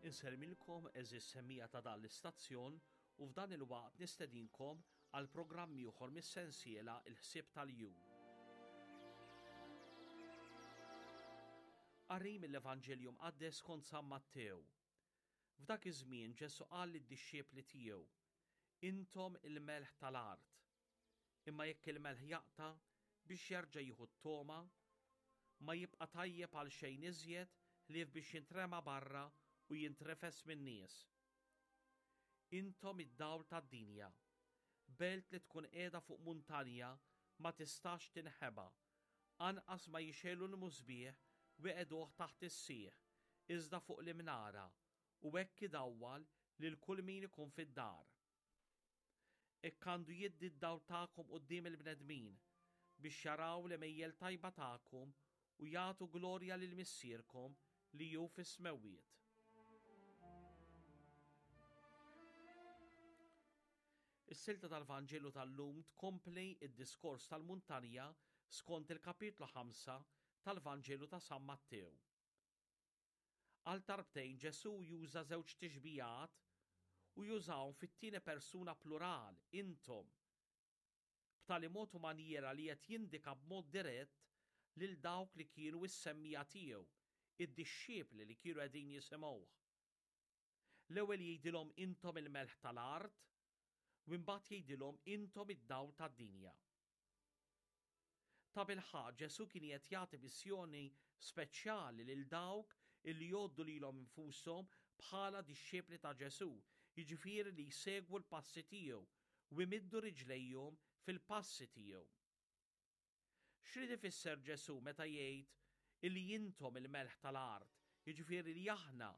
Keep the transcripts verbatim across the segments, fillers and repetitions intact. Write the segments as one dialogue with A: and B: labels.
A: Insellmilkom għeżież semmiegħa ta' dan l-istazzjon u f'dan il-waqt nistedinkom għal programm ieħor mis-sensiela Il-Ħsieb tal-Jum. Qari mill-Evanġelju Mqaddes skont San Mattew. F'dak iż-żmien Ġesù qal lid-dixxipli tiegħu: Intom il-melħ tal-art. Imma jekk il-melħ jaqta' biex jerġa' jieħu t-togħma, ma jibqa' tajjeb għal xejn iżjed ħlief biex jintrema barra u jintrefes min-nies. Intom id-dawl tad-dinja. Belt li tkun qiegħda fuq muntanja ma tistax tinħeba, anqas ma jixegħlu l-musbieħ u jqegħduh taħt is-sieħ, iżda fuq l-imnara, u hekk idawwal lil kull min ikun fid-dar. Hekk għandu jiddi d-dawl tagħkom quddiem il-bnedmin, biex jaraw l-għemejjel tajba tagħkom u jagħtu glorja lil Missierkom li hu fis-smewwiet. Is-silta tal-Vanġelu tal-lum tkompli id-diskors tal-muntanja skont il-kapitlu ħamsa tal-Vanġelu ta' San Mattew. Għal darbtejn Ġesù juża żewġ tixbijat u jużahom fit-tieni persuna plural, intom, b'tali mod u manjiera li qed jindika b'mod dirett lil dawk li kienu s-semmiegħa tiegħu, id-dixxipli li kienu qegħdin jisimgħuh. L-ewwel jgħidilhom intom il-melħ tal-art, u mbagħad jgħidilhom intom id-dawl tad-dinja. Tabilħaqq Ġesù kien qed jagħti missjoni speċjali lil dawk illi jgħoddu lilhom infushom bħala dixxipli ta' Ġesù, jiġifieri li jsegwu l-passi tiegħu u jmiddu riġlejhom fil-passi tiegħu. X'rid ifisser Ġesù meta jgħid illi intom il-melħ tal-art, jiġifieri li aħna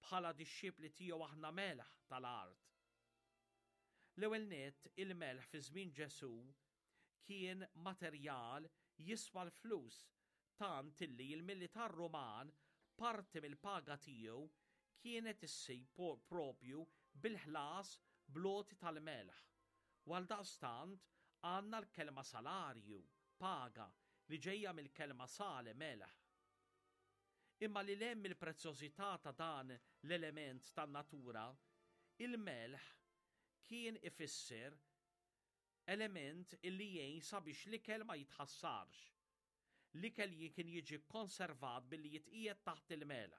A: bħala dixxipli tiegħu aħna melħ tal-art? L-ewwel nett, il-melħ fi żmien Ġesù kien materjal jiswa l-flus, tant illi l-militar Ruman parti mill-paga tiegħu kienet issir propju bil-ħlas bl-għoti tal-melħ. U għaldaqstant għandna l-kelma salarju, paga, li ġejja mill-kelma sale, melħ. Imma li hemm il-prezzjożità ta' dan l-element tan-natura, il-melħ kien ifisser element illi jgħin sabiex l-ikel ma jitħassarx. L-ikel kien jiġi konservat billi jitqiegħed taħt il-melħ.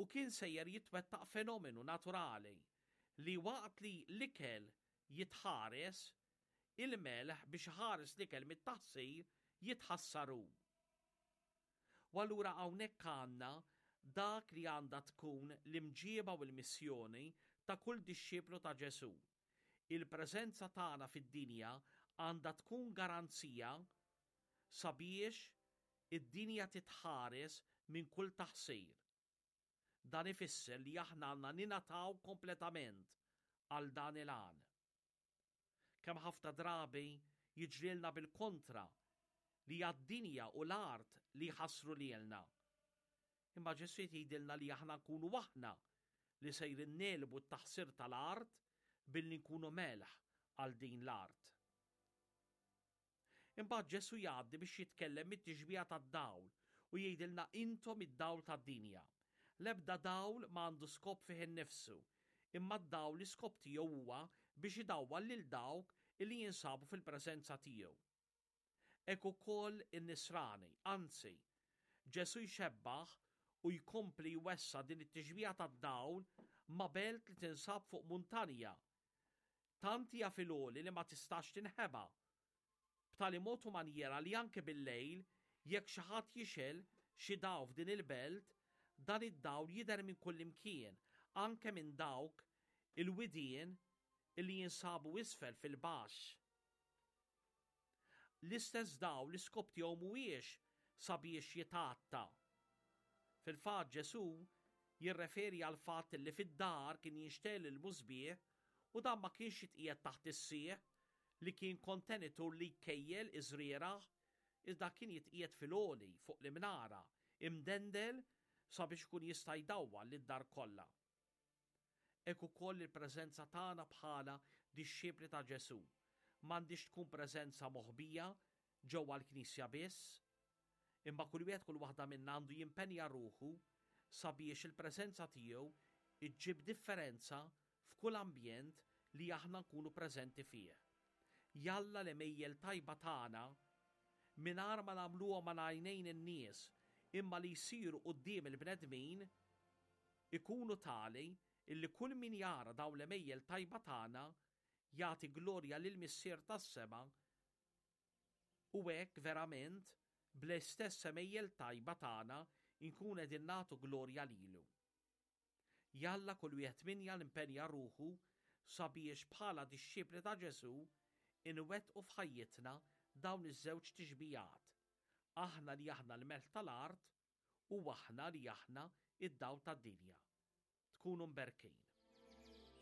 A: U kien sejjer jitwettaq fenomenu naturali li waqt li l-ikel jitħares, il-melħ biex ħares l-ikel mit-taħsir jitħassaru. U allura hawnhekk għandna dak li għandha tkun l-imġieba u l-missjoni ta' kull dixxiplu ta' Ġesù. Il-preżenza tagħna fid-dinja għandha tkun garanzija sabiex id-dinja titħares minn kull taħsir. Dan ifisser li aħna għandna ninataw kompletament għal dan il-għan. Kemm ħafna drabi jiġrilna bil-kontra li għad-dinja u l-art li jħassru lilna. Imma Ġesù jgħidilna li aħna nkunu aħna li sejrin negħlbu t-taħsir tal-art billi nkunu melħ għal din l-art. Imbagħad Ġesù jgħaddi biex jitkellem mit-tixbija tad-dawl u jgħidilna intom id-dawl tad-dinja. L-ebda dawl ma għandu skop fih innifsu, imma d-dawl l-iskop tiegħu huwa biex idawwal lil dawk illi jinsabu fil-preżenza tiegħu. Hekk ukoll in-nisrani, anzi, Ġesù jxebbaħ u jkompli jwessa din it-tixbija tad-dawl ma' belt li tinsab fuq muntanja. Tant hija fil-għoli li ma tistax tinħeba. B'tali mod u manjiera li anke bil-lejl, jekk xi ħadd jixgħel xi dawl f'din il-belt, dan id-dawl jidher minn kull imkien, anke minn dawk il-widien illi jinsabu isfel fil-baxx. L-istess dawl l-iskop tiegħu mhuwiex sabiex jitgħatta. Fil-fatt Ġesù jirreferi għal fatt li fid-dar kien jinxtegħel il-musbieħ u dan ma kienx jitqiegħed taħt is-sieħ li kien kontenitur li jkejjel iż-żrieragħ, iżda kien jitqiegħed fil-għoli fuq l-imnara, imdendel sabiex ikun jista' jdawwal lid-dar kollha. Hekk ukoll il-preżenza tagħna bħala dixxipli ta' Ġesù m'għandix tkun preżenza moħbija ġewwa l-Knisja biss, imma kull wieħed kull waħda minna għandu jimpenja ruħu sabiex il-preżenza tiegħu iġġib differenza f'kull ambjent li aħna nkunu preżenti fih. Jalla l-għemejjel tajba tagħna mingħajr ma nagħmluhom ma' għajnejn in-nies imma li jsiru quddiem il-bnedmin ikunu tali illi kull min jara dawn l-għemejjel tajba tagħna jagħti glorja lil Missier tas-sema u hekk verament bl-istess għemejjel tajba tagħna nkun qegħdin nagħtu glorja lilu. Jalla kull wieħed minna jimpenja ruħu sabiex bħala dixxipli ta' Ġesù inwettqu f'ħajjitna dawn iż-żewġ tixbijat. Aħna li aħna l-melħ tal-art u aħna li aħna id-dawl tad-dinja. Tkunu mberkin.